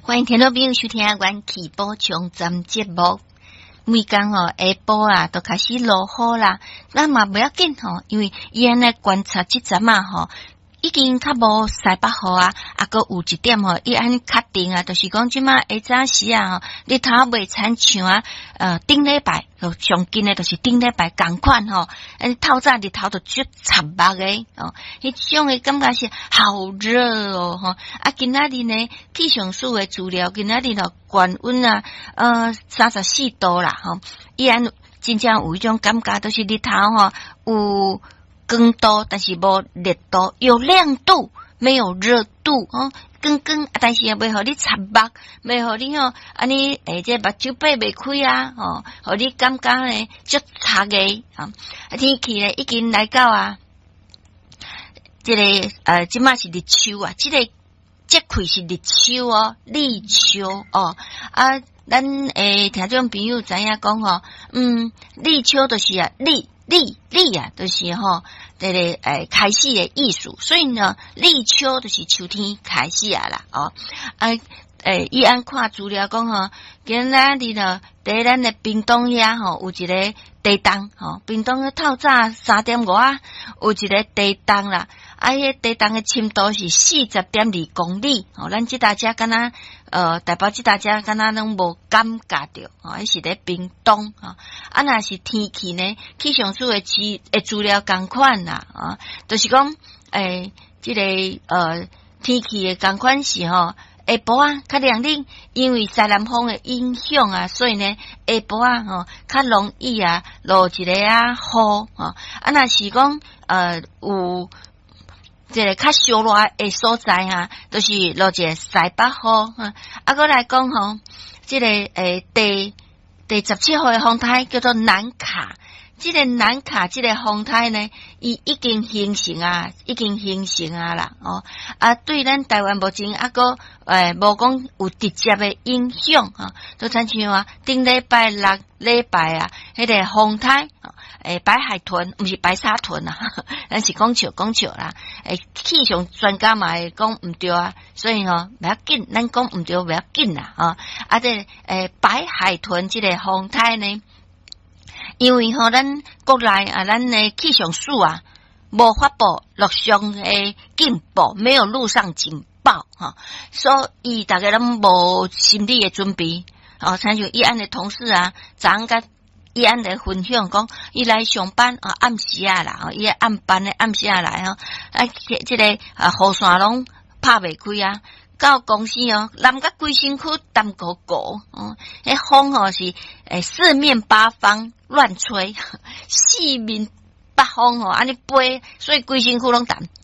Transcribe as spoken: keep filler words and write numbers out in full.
歡迎聽眾朋友收聽《元氣補充站》節目。每工吼下晡啊，就開始落雨啦。咱嘛袂要緊吼，因為伊按呢觀察這陣仔吼，已經較無西北雨啊，啊，閣有一點吼，伊按呢確定啊，就是講這馬下早時啊，吼，日頭袂親像啊，呃，頂禮拜上近的，就是頂禮拜仝款吼，按透早日頭就足插目的哦，彼種的感覺是好熱哦，吼，啊，今仔日呢，氣象署的資料，今仔日咯，懸溫啊，呃，三十四度啦，吼，伊按真正有彼種感覺，就是日頭吼有光度，但是無熱度，有亮度，沒有熱度哦。光光，但是也袂予你插目，袂予你吼，按呢欸，這目睭擘袂開啊，吼，予你感覺呢足插的啊。天氣呢已經來到啊，這個呃，這馬是立秋啊，這個節氣是立秋哦，立秋哦啊，咱欸聽眾朋友知影講吼，嗯，立秋就是啊，立。立立啊，就是吼，這個欸開始的意思，所以呢，立秋就是秋天開始啊啦，哦，啊，欸，伊按看資料講吼，今仔日呢，佇咱的屏東遐吼，有一個地動吼，屏東的透早三點外有一個地動啦，啊，彼個地動的深度是四十點二公里，吼，咱這搭遮敢若呃，台北這搭遮敢若攏無感覺著，吼，彼是佇屏東，吼，啊，若是天氣呢，氣象署的資的資料仝款啦，啊，就是講，欸，這個呃天氣的仝款是吼，下晡啊較涼冷，因為西南風的影響啊，所以呢下晡啊吼較容易啊落一個啊雨吼，啊若是講呃有這個較燒熱的所在啊，就是落一個西北風，啊，閣來講吼，這個欸第第十七號的風颱叫做南卡。這個南卡這個風颱呢，伊已經形成啊，已經形成啊啦，哦，啊，對咱台灣目前猶閣欸無講有直接的影響吼，就親像啊，頂禮拜六禮拜啊，彼個風颱，欸白海豚，毋是白沙屯啊，咱是講笑講笑啦，欸氣象專家嘛會講毋對啊，所以吼袂要緊，咱講毋對袂要緊啦，吼，啊，這個欸白海豚這個風颱呢，因為吼，咱國內啊，咱的氣象署啊，無發布陸上的警報，沒有陸上警報，吼，所以逐家攏無心理的準備。哦，親像伊按的同事啊，昨昏佮伊按來分享講，伊來上班啊，暗時啊啦，伊暗班的暗時啊來吼，啊，這個啊雨傘攏拍袂開啊。到公司哦，淋甲規身軀澹糊糊，哦，彼風吼是欸四面八方亂吹，四面八方吼按呢飛，所以規身軀攏澹。